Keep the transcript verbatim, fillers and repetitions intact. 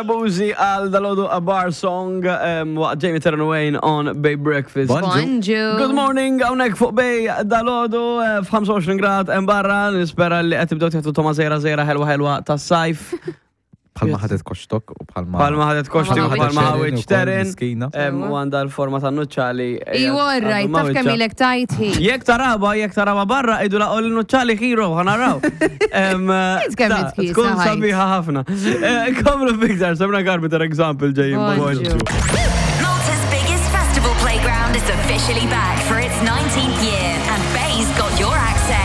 Abuzi għal dalgħodu A Bar Song um, waqt Jamie Terran Wayne on Bay Breakfast. Bonġu. Good morning, hawnhekk fuq Bay dalgħodu eh, f'ħamsa u għoxrin grad hemm barra, nispera li qed tibdew tieħdu togħma żgħira żgħira ħelwa ħelwa tas-sajf. Bħalma ħadet koxtok u bħalma. Bħalma ħadet koxti u Bħalma bħalma ħadet ħawieġ Terin Terin. ukoll, miskina. Em, U għandha l-forma ta' nuċċali. Iwa, right, taf kemm ilek tajt hi. Jekk taraba, jekk taraba barra, idu la l nuċċali hero, ħa naraw. Em, Int kemm ta' itkiesa Tkun ħajt. sabiħa ħafna. Eh, Komlu fiktar, Sabrina Carpenter example ġejjin. Bonġu. Malta's biggest festival playground is officially back for its nineteenth year, and Bay's got your access.